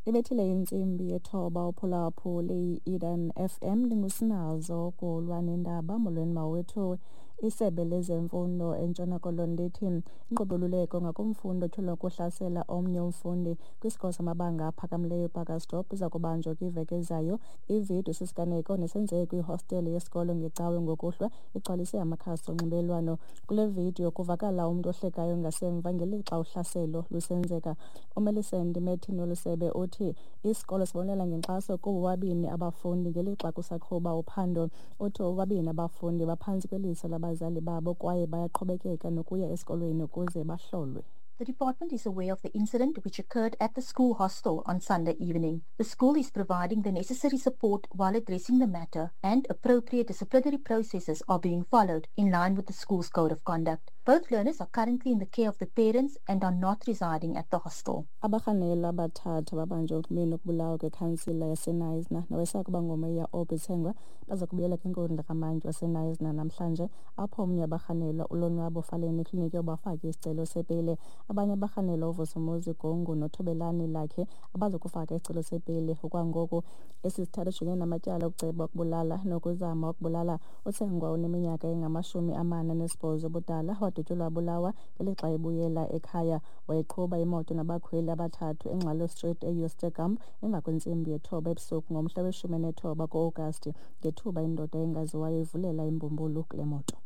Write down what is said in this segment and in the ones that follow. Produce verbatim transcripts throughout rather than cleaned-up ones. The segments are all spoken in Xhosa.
Ibethile intsimbi yethoba uphulaphuli i-Eden F M ndingusinazo kulwa nendaba. Molweni mawethu. Isebe lezemfundo eNtshona Koloni lithi inkqubo yoluleko ngakumfundi otyholwa ukuhlasela omnye umfundi kwisikolo samabanga aphakamileyo ePakkersdorp iza kubanjwa kwiveki ezayo. Ividiyo sisiganeko nesenzeke kwihostele yesikolo ngeCawe ngokuhlwa igcwalise amakhasi onxibelelwano. Kule vidiyo kuvakala umntu ohlekayo ngasemva ngelixa uhlaselo lusenzeka. UMillicent Martin wolu sebe uthi isikolo sibonelela ngenkxaso kubo bobabini abafundi ngelixa kusaqhuba uphando. Uthi bobabini abafundi baphantsi kweliso labazali babo kwaye bayaqhubekeka nokuya esikolweni ukuze bahlolwe. The department is aware of the incident which occurred at the school hostel on Sunday evening. The school is providing the necessary support while addressing the matter, and appropriate disciplinary processes are being followed in line with the school's code of conduct. Both learners are currently in the care of the parents and are not residing at the hostel. Abarhanelwa abathathu ababanjwe ekumeni ukubulawa kwekhansila yaseKnysna nowayesakuba ngumeya Aubrey Tsengwa baza kubuyela kwinkundla kamantyi waseKnysna namhlanje, apho omnye wabarhanelwa uLonwabo Faleni ekliniki yoba afake isicelo sebheyile. Abanye abarhanelwa uVusumuzi Gongo noThobelani Lakhe abazokufaka isicelo sebheyile okwangoku. Esi sithathu sijongene namatyala okuceba ukubulala nokuzama ukubulala. UTsengwa uneminyaka engamashumi amane anesibhozo ubudala, wadutyulwa wabulawa ngelixa ebuyela ekhaya. Wayeqhuba imoto nabakhweli abathathu eNgxalo Street eYsterkamp emva kwentsimbi yethoba ebusuku ngomhla weshumi nethoba ku-Agasti, ngethuba indoda engaziwayo ivulela imbumbulu kule moto.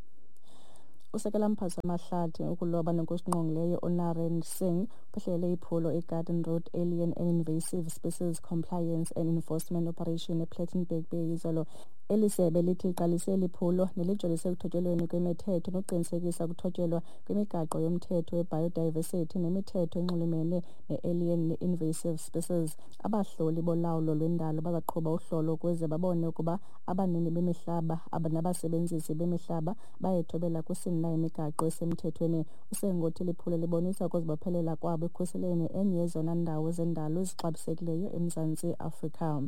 Usekela mphathiswa wamahlathi, ukuloba nokusingqongileyo uNarend Singh uphehlelele iphulo iGarden Road Alien and Invasive Species Compliance and Enforcement Operation ePlettenberg Bay izolo. Eli sebe lithi liqalise eli phulo nelijolise ekuthotyelweni kwemithetho nokuqinisekisa ukuthotyelwa kwemigaqo yomthetho we-biodiversity nemithetho enxulumene ne-alien ne-invasive species. Abahloli bolawulo lwendalo bazaqhuba uhlolo ukuze babone ukuba abanini bemihlaba nabasebenzisi bemihlaba bayayithobela kusini na imigaqo esemthethweni. USengothi liphulo libonisa ukuzibophelela kwabo ekukhuseleni enye yezona ndawo zendalo ezixabisekileyo eMzantsi Afrika.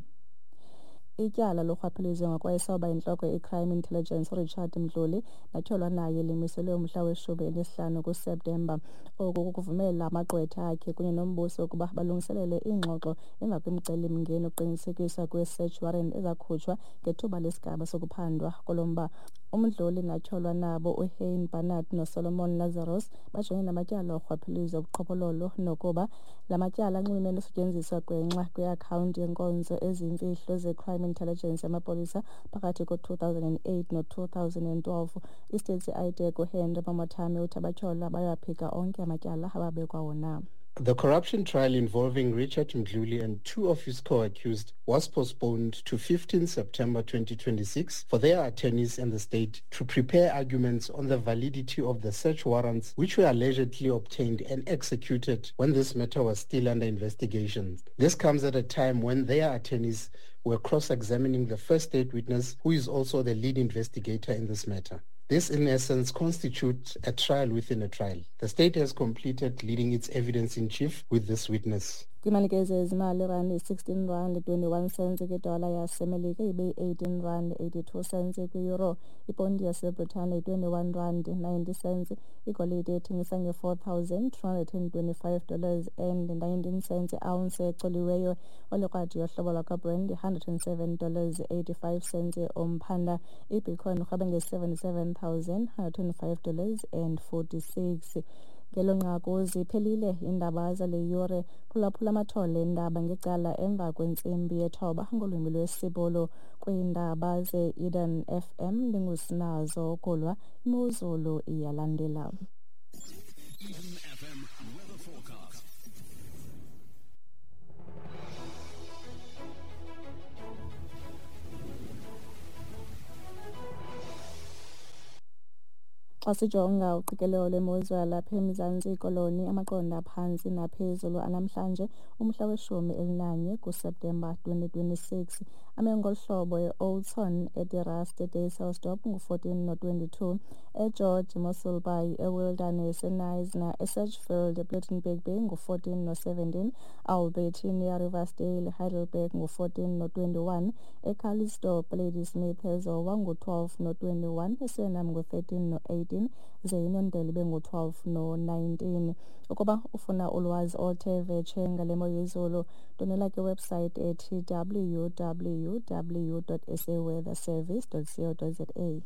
Ityala lorhwaphilizo ngokwayesaba intloko ye-Crime Intelligence uRichard Mdluli natyholwa naye limiselwe umhla weshumi elinesihlanu kuSeptemba. Oku kukuvumela amagqwetha akhe kunye nombuso ukuba balungiselele iingxoxo emva kwemicelimngeni yokuqinisekiswa kwe-search warrant ezakhutshwa ngethuba lesigaba sokuphandwa kulo mba. UMdluli natyholwa nabo uHein Barnard noSolomon Lazarus bajongene namatyala orhwaphilizo, ubuqhophololo nokuba la matyala anxulumene nokusetyenziswa gwenxa kweakhawunti yenkonzo eziyimfihlo ze-Crime Intelligence yamapolisa phakathi ko-two thousand and eight no-two thousand and twelve. I-State I D uHenry Mamothame uthi abatyholwa bayaphika onke amatyala ababekwa wona. The corruption trial involving Richard Mdluli and two of his co-accused was postponed to fifteenth September twenty twenty-six for their attorneys and the state to prepare arguments on the validity of the search warrants which were allegedly obtained and executed when this matter was still under investigation. This comes at a time when their attorneys were cross-examining the first state witness, who is also the lead investigator in this matter. This, in essence, constitutes a trial within a trial. The state has completed leading its evidence in chief with this witness. Kwimalike zezimali, irandi yi-sixteen rand twenty-one cents kwidola yaseMelika, ibe yi-eighteen rand eighty-two cents kwi-euro. Iponti yaseBritane yi-twenty-one rand ninety cents. Igolide ethengisa nge-four thousand two hundred and twenty-five dollars and nineteen cents i-ounce ecoliweyo. Olikrwadi yohlobo lwakwaBrent yi-hundred and seven dollars eighty-five cents umphanda. IBitcoin irhweba nge-seventy-seven thousand hundred and five dollars and forty-six. Ngelo nqaku ziphelile iindaba zale yure. Phulaphula amathole eendaba ngecala emva kwentsimbi yethoba ngolwimi lwesiBhulu. Kwiindaba ze-Eden F M ndingusinazo Kulwa. Imozulu iyalandela. Eden F M weather forecast. Xa sijonga uqikelelo lwemozulu yalapha eMzantsi Koloni, amaqondo aphantsi naphezulu anamhlanje umhla weshumi elinanye kuSeptemba twenty twenty-six. Ame ngolu hlobo: eOudtshoorn, eDe-Rust, eDysselsdorp ngu-fourteen no-twenty-two, eGeorge, Mossel Bay, eWilderness, eKnysna, eSedgefield, ePlettenberg Bay ngu-fourteen no-seventeen, Albertinia, Riversdale, Heidelberg ngu-fourteen no-twenty-one, eCalitzdorp, Ladysmith, eZowa ngu-twelve no-twenty-one, eSuriname ngu-thirteen no-eighteen, no-seventeen ze iNondelo ibe ngu-twelve no-nineteen. Ukuba ufuna ulwazi oluthe vetshe ngale mo yezulu, ndwendwela kwiwebsite ethi w w w dot s a weather service dot co dot za.